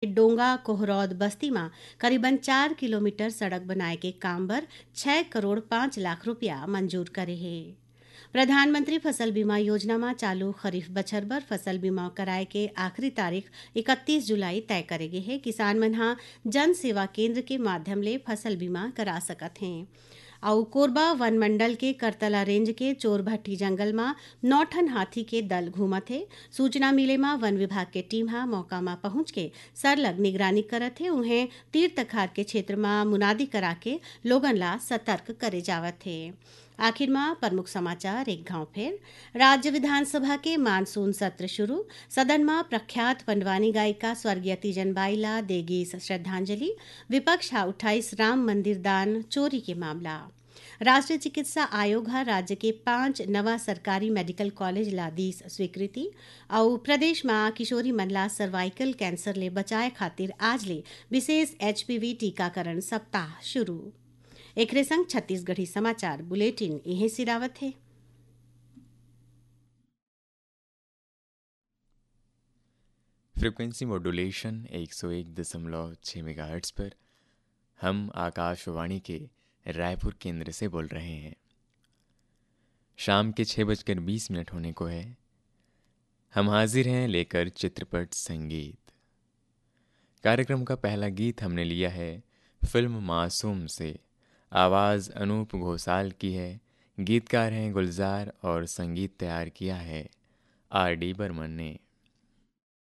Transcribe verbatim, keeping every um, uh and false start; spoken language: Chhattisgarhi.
डोंगा कोहरौद बस्ती म करीबन चार किलोमीटर सड़क बनाए के काम बर छह करोड़ पाँच लाख रुपया मंजूर करे हे। प्रधानमंत्री फसल बीमा योजना म चालू खरीफ बछर बर फसल बीमा कराए के आखिरी तारीख इकतीस जुलाई तय करे गे हे। किसान मन ह जन सेवा केंद्र के माध्यम ले फसल बीमा करा सकत हें। अउ कोरबा वन मंडल के करतला रेंज के चोरभट्टी जंगल म नौ ठन हाथी के दल घूमत हे। सूचना मिले म वन विभाग के टीम ह मौका म पहुंच के सरलग निगरानी करत हे। उहें तीर तखार के क्षेत्र म मुनादी करा के लोगन ला सतर्क करे जावत हे। आखिर म प्रमुख समाचार एक घाव फेर। राज्य विधानसभा के मानसून सत्र शुरू। सदन म प्रख्यात पंडवानी गायिका स्वर्गीय तीजन बाई ला दे गीस श्रद्धांजलि। विपक्ष ह उठाइस राम मंदिर दान चोरी के मामला। राष्ट्रीय चिकित्सा आयोग ह राज्य के पांच नवा सरकारी मेडिकल कॉलेज ला दीस स्वीकृति। अउ प्रदेश म किशोरी मन ला सर्वाइकल कैंसर ले बचाए खातिर आज ले विशेष एचपीवी टीकाकरण सप्ताह शुरू। एकरे संग छत्तीसगढ़ी समाचार बुलेटिन इहें सिरावत हे। फ्रीक्वेंसी मॉड्यूलेशन एक सौ एक दशमलव छः मेगाहर्ट्ज़ पर। हम आकाशवाणी के रायपुर केंद्र से बोल रहे हैं। शाम के छः बजकर बीस मिनट होने को है। हम हाजिर हैं लेकर चित्रपट संगीत। कार्यक्रम का पहला गीत हमने लिया है फिल्म मासूम से। आवाज़ अनूप घोषाल की है। गीतकार हैं गुलजार और संगीत तैयार किया है आर डी बर्मन ने।